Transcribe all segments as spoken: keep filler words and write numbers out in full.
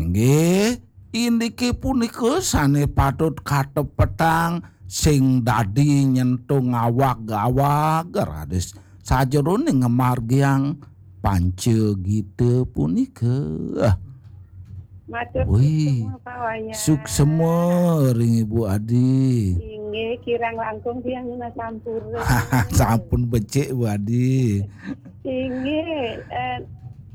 Nggih, indike punika sane patut katepetang sing dadi nyentung awak-awak raris sajerone ngamargiang panca gita punika. Matur Wih, suksema, Pak Wayan. Suksema ring Ibu Adi. Inggih, kirang langkung tiang nunas sampura. Sampun becik, Bu Adi. Inggih, eh,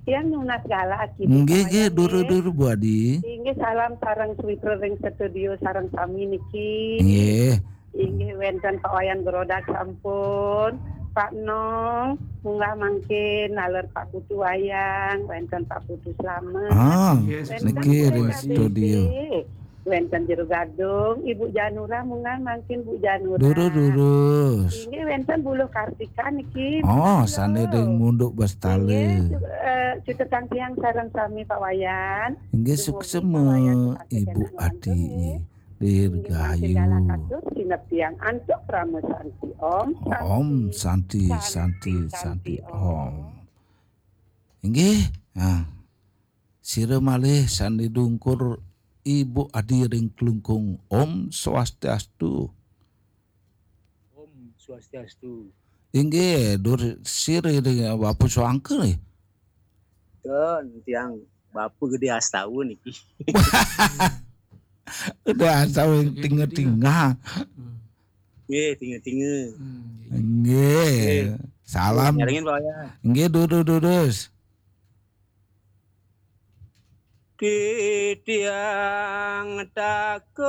tiang nunas galah kita, Nggih, Pak nggih, Wayan, duru, nggih. Duru, Bu Adi. Inggih, salam sareng Switra ring studio sareng sami niki. Nggih. Inggih, wenten Pak Wayan Grodak sampun. Pak Nong, munggah mangkin naler Pak Putu Wayang, wenten Pak Putu Slamet. Ah, Yes. Wenten niki Pak ring K B C, studio. Wenten Jero Gadung, Ibu Janura munggah mangkin Bu Janura. Durus, durus. Inggih wenten Buluh Kartika niki. Oh, Pak sane Nong. Ring Munduk Bestale. Inggih, eh, cutetang tiang sareng sami Pak Wayan. Inggih Dumugi suksema, Pak Wayan Ibu Adi. Nggih. Dirgahayu. Inggih, mangkin galah katur, sineb tiang antuk Parama Santi. Om Santi, Santi, Santi, Om. Inggih, nah, sira malih sane dungkur Ibu Adi ring Klungkung. Om Swastiastu. Om Swastiastu. Inggih, dur sira ring Bapak Suangka nggih. Ten, tiang Bapak Gede Astawa niki. Udah asal tinga-tinga. Nggih, tinga-tinga. Hmm, nggih. Nggih. Nggih. Salam. Nyarengin, Pak Wayan. Nggih, durus, durus. Titiang takut